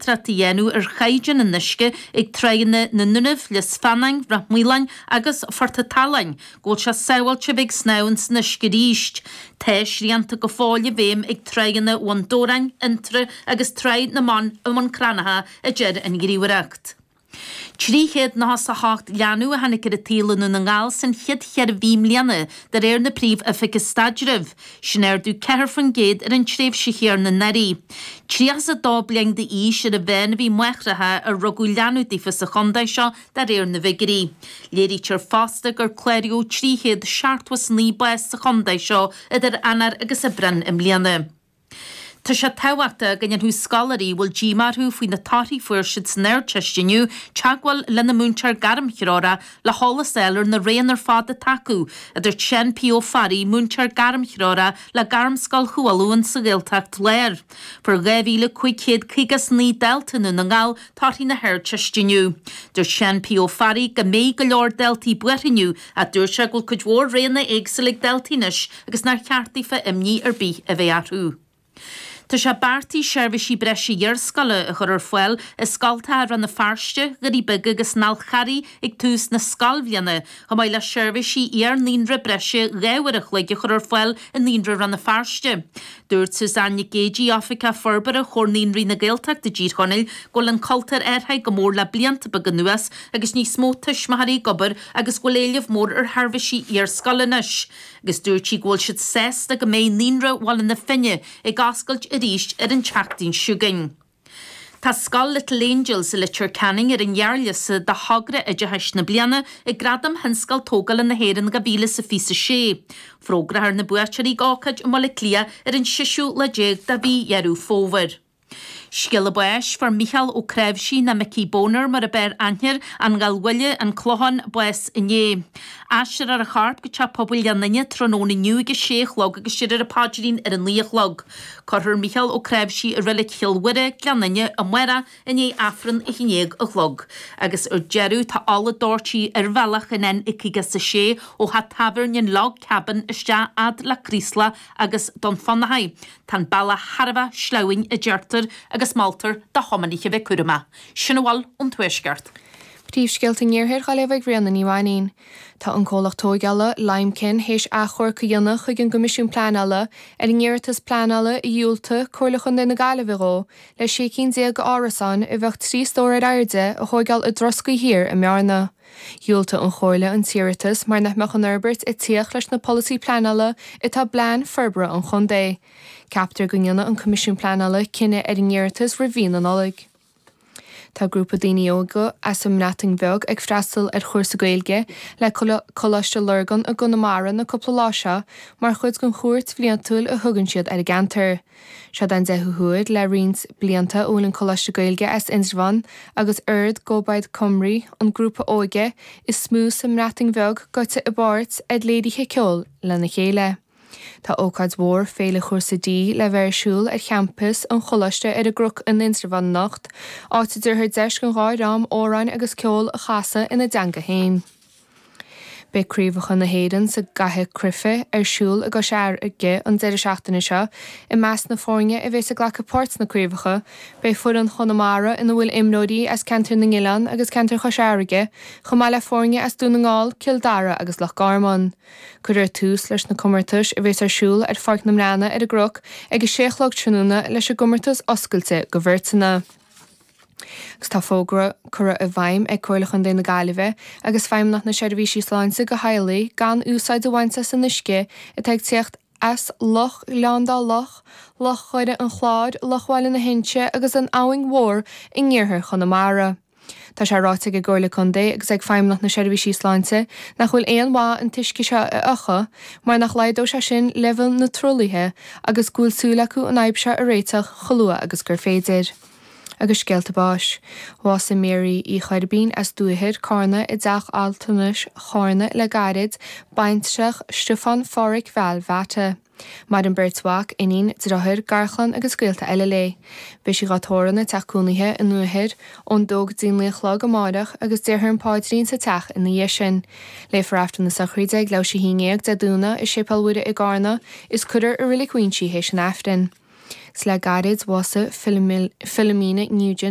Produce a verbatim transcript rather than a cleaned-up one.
monatóireacht a dhéanamh ar chaighdeán an uisce ag tráigheanna na nDúnaibh, Lios Feanáin, Ráth Maoláin agus Phort an tSaláin, go bhfuil sé sábháilte bheith ag snámh san uisce arís. Tá srianta go fóill i bhfeidhm ag tráigheanna Bhun Dobhráin, Fhionntrá agus Tráigh na mBan i mBun Cranncha, a deir an ghníomhaireacht. Trí chéad nócha a hocht leanbh a tháinig ar an tsaol i nDún na nGall san chéad cheithre mhí i mbliana de réir na Príomh-Oifige Staidrimh. Sin ardú ceathair faoin gcéad ar an tréimhse chéanna anuraidh. Tríocha is a dó bliain d'aois ar an mheán a bhí máithreacha ar rugadh leanbh daofa sa chontae seo de réir na bhfigiúirí. Léirítear fosta gur cláraíodh trí chéad seachtó is naoi bás sa chontae seo idir Eanáir agus Aibreán i mbliana. Tá sé tábhachtach go ndéanfadh scoláirí a bhfuil díomá orthu faoi na torthaí a fuair siad san Ardteist inniu teagmháil lena múinteoir gairmthreorach le heolas a fháil ar na roghanna ar fad atá acu, a dúirt Seán P. Ó Fearraigh, múinteoir gairmthreorach le Gairmscoil Chualann sa Ghaeltacht Láir. Fuair dhá mhíle cúig chéad caoga is naoi dalta i nDún na nGall torthaí na hArdteiste inniu. Dúirt Seán P. Ó Fearraigh go mbeidh go leor daltaí buartha inniu ach dúirt sé go bhfuil cuid mhór roghanna éagsúla ag daltaí anois agus nár cheart daofa imní ar bith a bheith orthu. Tá sé beartaithe seirbhísí breise iarscoile a chur ar fáil i scoltacha Rann na Feirste, Dhoirí Beaga agus an Fhál Charraigh ag tús na scoilbhliana, chomh maith le seirbhísí iar-naíonra breise dhá uair a chloig a chur ar fáil i Naíonra Rann na Feirste. Dúirt Suzanne Nic Géidigh, Oifigeach Forbartha Chomhar Naíonraí na Gaeltachta i dTír Chonaill, go bhfuil an cultúr athraithe go mór le blianta beaga anuas agus níos mó tuismitheoirí ag obair agus go bhfuil éileamh mór ar sheirbhísí iarscoile anois. Agus dúirt sí go bhfuil siad sásta go mbeidh Naíonra Bhaile na Finne ag oscailt arís ar an tseachtain seo chugainn. Tá Scoil Little Angels i Leitir Ceanainn ar an ghearrliosta do thogra oideachais na bliana ag Gradaim Thionscal Tógála na hÉireann dhá mhíle is a fiche a sé. Fógrófar na buaiteoirí ag ócáid i mBaile Átha Cliath ar an seisiú lá déag de mhí Dheireadh Fómhair. Scéala báis fuair Micheál Ó Cnáimhsí nó Mickey Boner mar a b'fhearr aithne air, an Gallbhaile, an Clochán, bás inné. Aistreofar a chorp go teach pobail Ghleann Fhinne tráthnóna inniu ag a sé a chlog agus déarfar an paidrín ar a naoi a chlog. Cuirfear Micheál Ó Cnáimhsí i reilig Chill Mhuire, Gleann Fhinne, amárach i ndiaidh Aifreann a haon déag a chlog. Agus ar deireadh tá ola doirte ar bhealach an N caoga is a sé ó theach tábhairne an Log Cabin isteach fhad le Craoslach agus Dún Fionnachaidh. Tá an bealach thar a bheith sleamhain a deirtear agus moltar do thiománaithe bheith cúramach. Sin a bhfuil ón Tuaisceart. Príomhscéalta an Iarthair á léamh ag Ríona Ní Mhainín. Tá an comhlacht tógála Limekiln théis achomharc a dhéanamh chuig an gCoimisiún Pleanála ar an iarratas pleanála a dhiúltaigh Comhairle Chontae na Gaillimhe dhó le sé cinn déag árasán a bheadh trí stór ar airde a thógáil i dTroscaí Thiar i mBearna. Dhiúltaigh an Chomhairle an t-iarratas mar nach mbeadh an fhorbairt ag tíocht leis na polasaí pleanála atá i bplean forbartha an chontae. Ceaptar go ndéanfaidh an Coimisiún Pleanála cinneadh ar an iarratas roimh mhí na Nollag. Tá grúpa daoine óga as an mBreatain Bheag ag freastal ar chúrsa Gaeilge le Coláiste Lurgan i gConamara na cúpla lá seo mar chuid den chuairt bhliantúil a thugann siad ar an gceantar. Seo den deichiú huair le roinnt blianta a bhfuil an Coláiste Gaeilge as Indreabhán agus Urdd Gobaith Cymru, an grúpa óige is mó sa mBreatain Bheag goite i bpáirt ar léirithe ceoil lena chéile. Tá ócáid mhór féile chúrsa D le bheith ar siúl ar champas an choláiste ar an gCnoc in Indreabhán anocht, áit a dtabharfar deis don dhá dhream amhráin agus ceol a chasadh ina dteanga féin. Beidh craobhacha na hÉireann sa gcaitheamh cruife ar siúl i gCois Fharraige an deireadh seachtaine seo i measc na foirne a bheas ag glacadh páirt sna craobhacha, beidh foireann Chonamara ina bhfuil imreoirí as ceantar na nOileán agus ceantar Chois Fharraige, chomh maith le foirne as Dún na nGall, Cill Dara agus Loch Garman. Cuirfear tús leis na comórtais a bheas ar siúl ar Pháirc na mBreanna ar an gCnoc ag a sé a chlog tráthnóna leis an gcomórtas oscailte do bheirteanna. Agus tá fógra curtha i bhfeidhm ag Comhairle Chontae na Gaillimhe agus Feidhmeannacht na Seirbhísí Sláinte do theaghlaigh gan úsáid a bhaint as an uisce atá ag teacht as Loch Ghleann Dá Loch, Loch Dhoire an Chláir, Loch Bhaile na hInse agus an Abhainn Mhór in iarthar Chonamara. Tá sé ráite ag an gComhairle Contae agus ag Feidhmeannacht na Seirbhísí Sláinte nach bhfuil aon mhaith an t-uisce seo a fhiuchadh mar nach laghdódh sé sin leibhéal na truaillithe agus go bhfuil súil acu an fhadhb seo a réiteach chomh luath agus gur féidir. Agus scéalta báis. Bhásaigh Mary Uí Choirbín as Dúichear, Carna i dteach altranais Charna le gairid, baintreach Stiofán Pháraic Bheal Bheata. Maireann beirt mhac, iníon, deartháir, garchlann agus gaolta eile léi. Beidh sí dhá tórramh ina teach cónaithe i nDúichear ón dó go dtí naoi a chlog amárach agus déarfar an paidrín sa teach ina dhiaidh sin. Léifear Aifreann na sochraide ag leathuair théis a haon déag Dé Domhnaigh i Séipéal Mhuire i gCarna is cuirfear i Reilig Mhuinsí théis an Aifrinn. Is le gairid bhásaigh Philomena Nugent